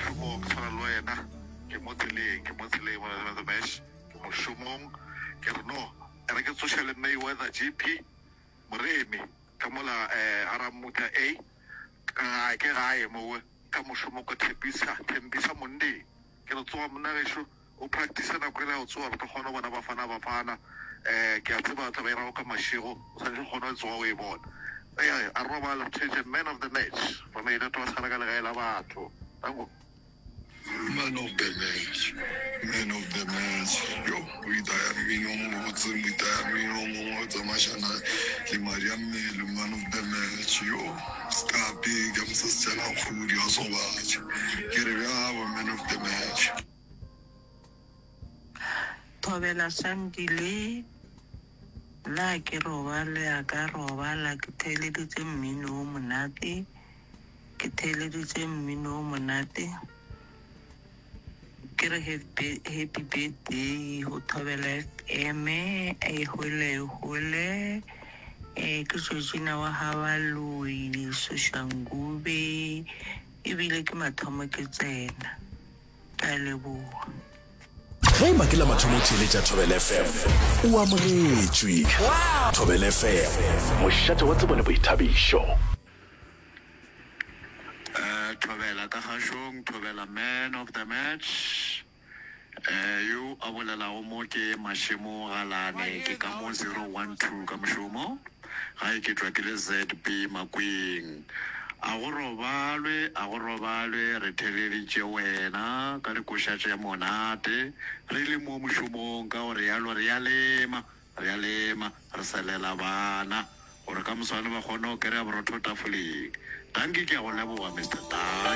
mošomong, ke tshwana le wena, ke mo tseleng, ke mo tseleng mona the match, ke mošomong. Ke re no, e re ke tsoše le Mayweather GP, Moremi, ka mola eh, ga Rammutla A, ka ke gae mowe, ka mošomo ko Thepisa, Thembisa Mondeng. Ke re tsoga monna gešo, o practice nako ela ya go tsoga re tlo kgona go bona Bafana Bafana. Um ke a tseba tla ba e rago ka mašego, o swanetše go kgona go tsoga o e bona. Ee, a robale re theetše man of the match from a wa sala ka legae la batho. Danko. Man of the match, man of the match, yo o itaya mmino o mobotse, o itaya mmino o mongwe o tsamaišana le madi a mmele, man of the match, yo skapi ka mosesejana kgodi wa sobatša, ke re bjabo man of the match. Thobela Sandile, Nna ha ke robale a ka robala ke theeleditše mmino o monate, ke theeleditše mmino o monate. Ke re happy birthday go Thobela FM, e hole e hole. Eh, ke Georgina wa ga Baloi, Soshanguve, ebile ke mathomo ke tsena. Ke a leboga. Ge e ba ke la mathomo o theeletša Thobela FM, o amogetšwe. Thobela FM, mošate wa tsebo le boithabišo. Eh, Thobela ka gašong, Thobela man of the match. Eh, yo a bolelago mo ke Mašemo Galane, ke ka mo 012 ka mošomo. Gae ke tšwa ke le ZB Makweng. A go robalwe, a go robalwe, re theeleditše wena ka dikoša tše monate re le mo mošomong, ka go realo re a lema, re a lema, re selela bana gore ka moswane ba kgone go kereya borotho tafoleng. Dankie, ke a go leboga Mister Dankie.